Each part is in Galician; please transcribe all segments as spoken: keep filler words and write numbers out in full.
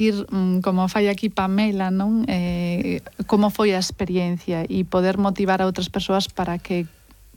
ir, como fai aquí Pamela, non? Eh, como foi a experiencia e poder motivar a outras persoas para que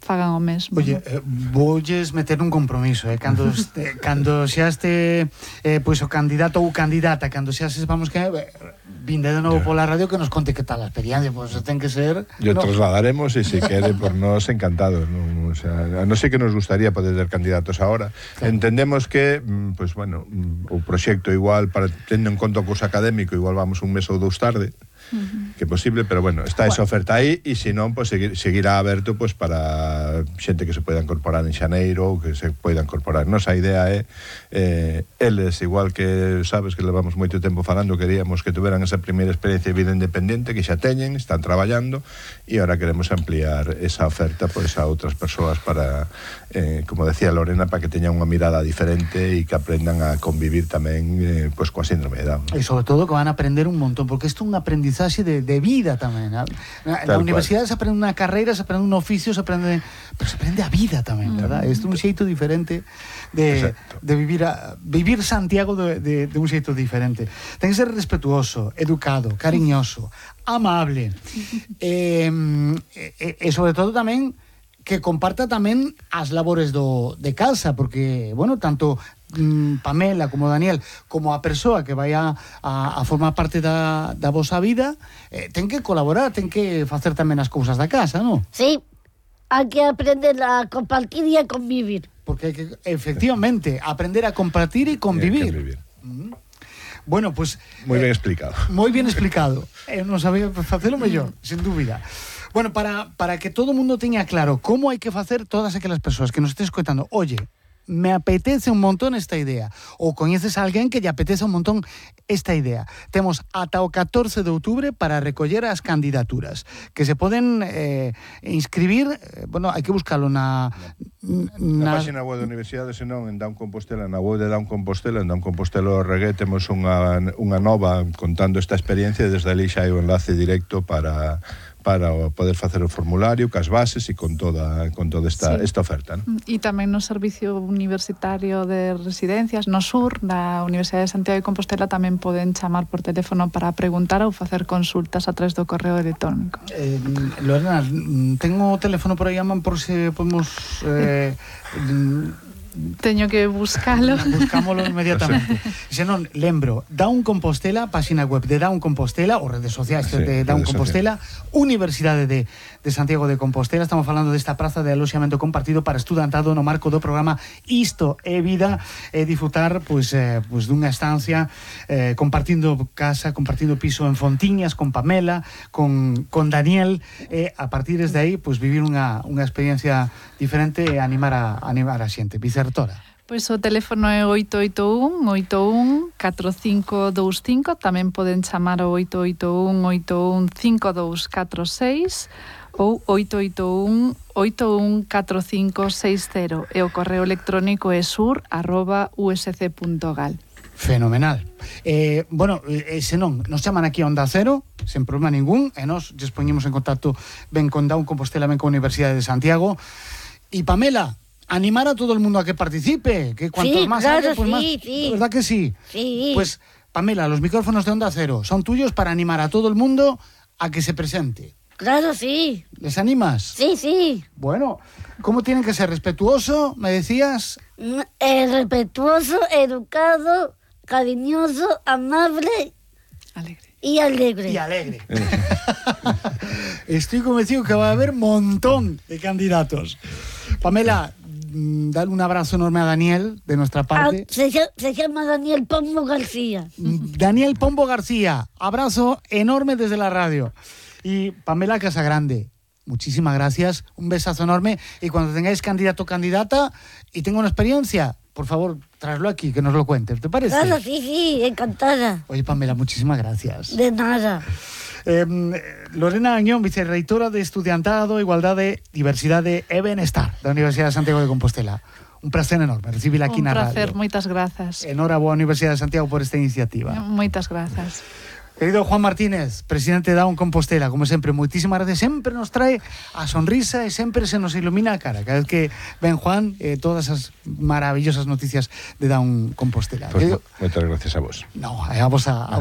fagan o mesmo. Oye, eh, voulles meter un compromiso, eh? Cando, este, cando xa este eh, pois o candidato ou candidata, cando xa se vamos que eh, vinde de novo pola radio que nos conte que tal a experiencia, pois pues, ten que ser... Yo no. trasladaremos e se quere por nos encantados, non? O sea, non sei que nos gustaría poder ter candidatos ahora. Claro. Entendemos que, pois pues, bueno, o proxecto igual, para tendo en conta o curso académico, igual vamos un mes ou dous tarde, Uh-huh. que é posible, pero bueno, está esa oferta aí e se non, pues, seguir, seguirá aberto pues, para xente que se poida incorporar en xaneiro ou que se poida incorporar. Nosa idea é eh, eles, igual que sabes que levamos moito tempo falando, queríamos que tuveran esa primeira experiencia de vida independente que xa teñen, están traballando e ahora queremos ampliar esa oferta pues, a outras persoas para, eh, como decía Lorena, para que teñan unha mirada diferente e que aprendan a convivir tamén eh, pues, coa síndrome de Down. E sobre todo que van a aprender un montón, porque isto é un aprendizaje De, de vida tamén. Na, na universidade se aprende unha carreira, se aprende un oficio, se aprende, pero se aprende a vida tamén, verdad? Isto é un xeito diferente de, de vivir a, vivir Santiago de, de, de un xeito diferente. Ten que ser respetuoso, educado, cariñoso, amable e, e, e sobre todo tamén que comparta tamén as labores do, de casa, porque, bueno, tanto Pamela como Daniel, como a persoa que vai a, a, a formar parte da, da vosa vida, eh, ten que colaborar, ten que facer tamén as cousas da casa, non? Sí, hai que aprender a compartir e a convivir. Porque hai que, efectivamente, aprender a compartir e convivir. convivir. Mm. Bueno, pues... Moi ben eh, explicado. Moi ben explicado. Eu non sabía facelo mellor, sin dúbida. Bueno, para, para que todo o mundo teña claro como hai que facer todas aquelas persoas que nos estés escoitando, oye, me apetece un montón esta idea, ou coñeces a alguén que lle apetece un montón esta idea. Temos ata o catorce de outubro para recoller as candidaturas que se poden eh, inscribir, eh, bueno, hai que buscalo na na, na página web da Universidade, senón en Down Compostela, na web de Down Compostela, en Down Compostela o Regué temos unha, unha nova contando esta experiencia e desde ali xa hai o enlace directo para para poder facer o formulario, cas bases e con toda con toda esta, sí. esta oferta, ¿no? E tamén no Servicio Universitario de Residencias, no Sur, da Universidade de Santiago de Compostela, tamén poden chamar por teléfono para preguntar ou facer consultas a través do correo electrónico. Eh, Lorena, tengo o teléfono por aí a man por se podemos... Eh, Teño que buscalo. Buscámolo inmediatamente. Se non, lembro, Down Compostela, página web de Down Compostela, ou redes sociais sí, de Down Compostela, Universidade de, de Santiago de Compostela. Estamos falando desta praza de aloxamento compartido para estudantado no marco do programa Isto é Vida, e disfrutar pois, eh, pois dunha estancia eh, compartindo casa, compartindo piso en Fontiñas, con Pamela, con, con Daniel, e a partir desde aí pois, vivir unha, unha experiencia diferente e animar a, animar a xente. Vicertora. Pois o teléfono é oito oito un, oito un, catro cinco dous cinco, tamén poden chamar ao oito oito un, oito un, cinco dous catro seis ou oito oito un, oito un catro cinco seis cero e o correo electrónico é sur arroba u s c punto gal. Fenomenal. Eh, bueno, eh, se non, nos chaman aquí a Onda Cero, sen problema ningún, e nos dispoñemos en contacto ben con Down Compostela, ben con a Universidade de Santiago. E Pamela, animar a todo el mundo a que participe, que cuanto sí, más claro, haya, pues sí, más, sí. ¿verdad que sí? Sí. Pues, Pamela, los micrófonos de Onda Cero son tuyos para animar a todo el mundo a que se presente. Claro, sí. ¿Les animas? Sí, sí. Bueno, ¿cómo tienen que ser? ¿Respetuoso, me decías? Eh, respetuoso, educado, cariñoso, amable... Alegre. Y alegre. Y alegre. Estoy convencido que va a haber montón de candidatos. Pamela, dale un abrazo enorme a Daniel de nuestra parte. Ah, se, se llama Daniel Pombo García. Daniel Pombo García, abrazo enorme desde la radio. Y Pamela Casagrande, muchísimas gracias, un besazo enorme. Y cuando tengáis candidato o candidata y tenga una experiencia, por favor, tráelo aquí, que nos lo cuentes, ¿te parece? Claro, sí, sí, encantada. Oye, Pamela, muchísimas gracias. De nada. Eh, Lorena Añón, vicerreitora de Estudiantado, Igualdade, Diversidade e Benestar da Universidade de Santiago de Compostela. Un placer enorme recibirla aquí na radio. Un placer, radio. moitas grazas. Enhoraboa, Universidade de Santiago, por esta iniciativa. Moitas grazas. Querido Juan Martínez, presidente de Down Compostela, como sempre, moitísimas gracias. Sempre nos trae a sonrisa e sempre se nos ilumina a cara. Cada vez que ven Juan, eh, todas as maravillosas noticias de Down Compostela. Pues, moitas gracias a vos. No, a vos a...